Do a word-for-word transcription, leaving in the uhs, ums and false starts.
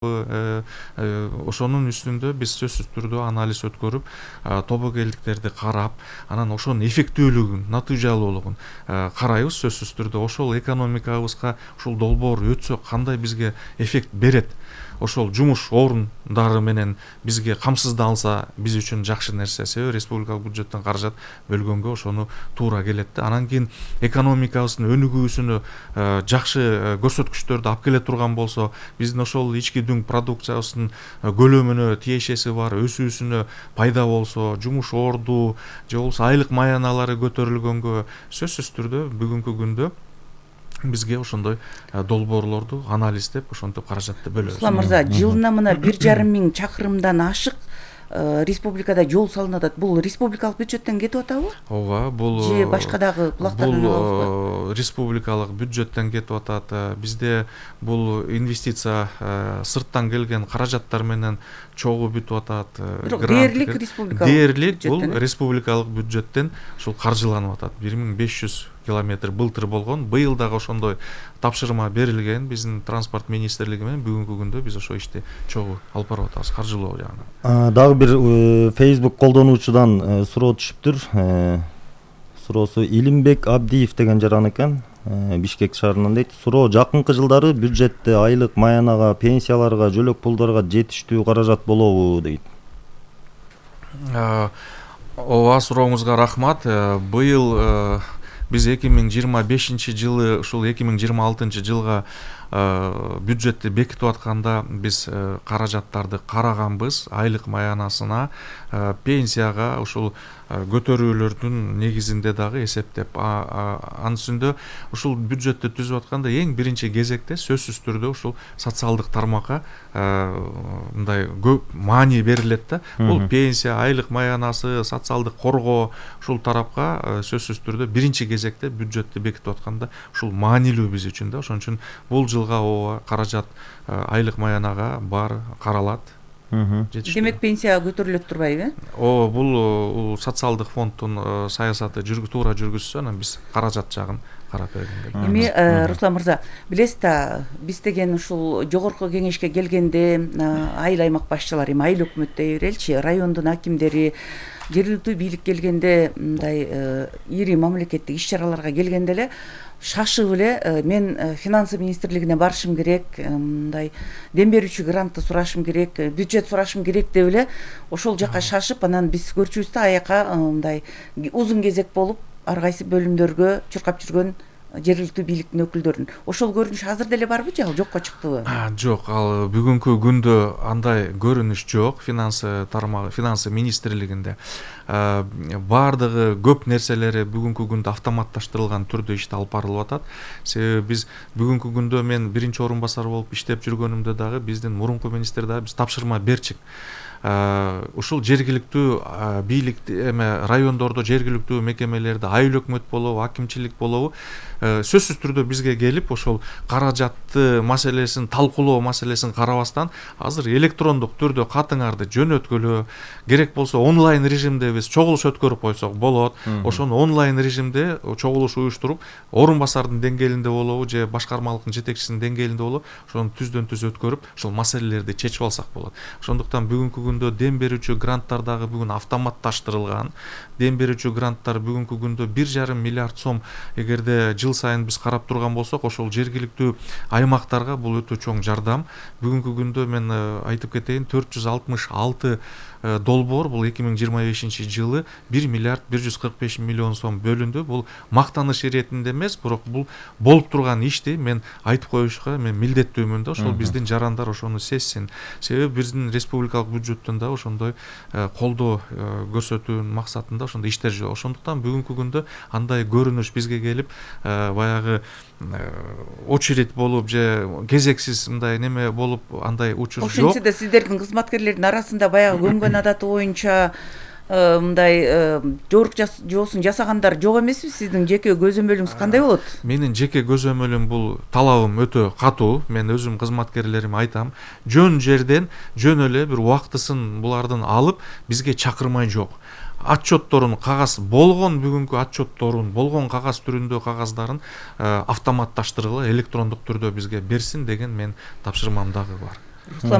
ошонун үстүндө биз сөзсүз түрдө анализ өткөрүп, тобокелдиктерди карап, анан ошонун эффектүүлүгүн, натыйжалуулугун карайбыз. Сөзсүз түрдө ошол экономикабызга ушул долбоор өтсө кандай бизге эффект берет, ошол жумуш орундары менен бизге камсыздалса биз үчүн жакшы нерсе. Себеби республикалык бюджеттен каражат бөлгөнгө ошону туура келет да. Анан кийин экономикабыздын өнүгүүсүнө жакшы көрсөткүчтөрдү алып келе турган болсо, биздин ошол ички дүң продукциябыздын көлөмүнө тиешеси бар өсүүсүнө пайда болсо, жумуш орду же болбосо айлык маяналары көтөрүлгөнгө, сөзсүз түрдө бүгүнкү күндө бизге ошондой долбоорлорду анализдеп, ошентип каражатты бөлөбүз. Руслан мырза, жылына мына бир жарым миң чакырымдан ашык республикада жол салынып атат. Бул республикалык бюджеттен кетип атабы? Ооба, бул же башка дагы булактардан алабызбы? Бул республикалык бюджеттен кетип атат. Бизде бул инвестиция сырттан келген каражаттар менен чогуу бүтүп атат. Бирок дээрлик республикалык дээрлик бул республикалык бюджеттен ушул каржыланып атат. бир миң беш жүз километр былтыр болгон. Быйыл дагы ошондой тапшырма берилген биздин транспорт министрлиги менен. Бүгүнкү күндө биз ошол ишти чогуу алып барып атабыз, каржылоо жагынан. Дагы бир Facebook колдонуучудан суроо түшүптүр. Суроосу Илимбек Абдиев деген жаран экен. Бишкек шаарынан дейт. Суроо: жакынкы жылдары бюджетте айлык маянага, пенсияларга, жөлөк пулдарга жетиштүү каражат болобу дейт. Ооба, сурооңузга рахмат. Быйыл биз эки миң жыйырма бешинчи жылы, ушул эки миң жыйырма алтынчы жылга бюджетти бекитип атканда биз каражаттарды караганбыз. Айлык маянасына, пенсияга, ушул көтөрүүлөрдүн негизинде дагы эсептеп. Анын үстүндө ушул бюджетти түзүп атканда эң биринчи кезекте сөзсүз түрдө ушул социалдык тармакка мындай көп маани берилет да. Бул пенсия, айлык маянасы, социалдык коргоо, ушул тарапка сөзсүз түрдө биринчи кезекте бюджетти бекитип атканда ушул маанилүү биз үчүн да. Ошон үчүн бул жылга ооба каражат айлык маянага бар, каралат. Демек пенсия көтөрүлөт турбайбы? Ооба, бул социалдык фонддун саясаты туура жүргүзсө, анан биз каражат жагын карап бергенге. Эми Руслан мырза, билесиз да, биз деген ушул жогорку кеңешке келгенде айыл аймак башчылары, эми айыл өкмөт дей береличи, райондун акимдери, жергиликтүү бийлик келгенде, мындай ири мамлекеттик иш-чараларга келгенде эле шашып эле мен финансы министрлигине барышым керек, мындай дем берүүчү грантты сурашым керек, бюджет сурашым керек деп эле ошол жака шашып, анан биз көрчүбүз да аяка мындай узун кезек болуп ар кайсы бөлүмдөргө чуркап жүргөн жергиликтүү бийликтин өкүлдөрүн. Ошол көрүнүш азыр деле барбы же ал жокко чыктыбы? Жок, ал бүгүнкү күндө андай көрүнүш жок. Финансы тармагы, финансы министрлигинде баардыгы көп нерселери бүгүнкү күндө автоматташтырылган түрдө ишти алып барылып атат. Себеби биз бүгүнкү күндө мен биринчи орун басар болуп иштеп жүргөнүмдө дагы биздин мурунку министр дагы биз тапшырма берчик. Ушул жергиликтүү бийлик эме райондордо жергиликтүү мекемелерде айыл өкмөт болобу, акимчилик болобу сөзсүз түрдө бизге келип ошол каражатты маселесин талкуулоо маселесин карабастан азыр электрондук түрдө катыңарды жөнөткөлө, керек болсо онлайн режимде биз чогулуш өткөрүп койсок болот. Ошону онлайн режимде чогулуш уюштуруп, орун басардын деңгээлинде болобу же башкармалыктын жетекчисинин деңгээлинде болобу, ошону түздөн түз өткөрүп, ошол маселелерди чечип алсак болот. Ошондуктан бүгүнкү күндө дем берүүчү гранттар дагы бүгүн автоматташтырылган. Дем берүүчү гранттар бүгүнкү күндө бир жарым миллиард сом эгерде жыл сайын биз карап турган болсок, ошол жергиликтүү аймактарга бул өтө чоң жардам. Бүгүнкү күндө мен айтып кетейин, төрт жүз алтымыш алты долбоор бул эки миң жыйырма бешинчи жылы бир миллиард бир жүз кырк беш миллион сом бөлүндү. Бул мактаныш иретинде эмес, бирок бул болуп турган ишти мен айтып коюшка мен милдеттүүмүн да. Ошол биздин жарандар ошону сезсин. Себеби биздин республикалык бюджеттен да ошондой колдоо көрсөтүү максатында ошондой иштер жүрөт. Ошондуктан бүгүнкү күндө андай көрүнүш бизге келип, баягы очередь болуп же кезексиз мындай неме болуп андай учур жок. Ошентсе да сиздердин кызматкерлердин арасында баягы көнгөн адаты боюнча мындай жорук жоосун жасагандар жок эмеспи? Сиздин жеке көзөмөлүңүз кандай болот? Менин жеке көзөмөлүм бул талабым өтө катуу. Мен өзүм кызматкерлериме айтам, жөн жерден жөн эле бир убактысын булардын алып бизге чакырмай жок. отчетторун кагаз болгон бүгүнкү отчетторун болгон кагаз түрүндө кагаздарын автоматташтыргыла электрондук түрдө бизге берсин деген мен тапшырмам дагы бар. Руслан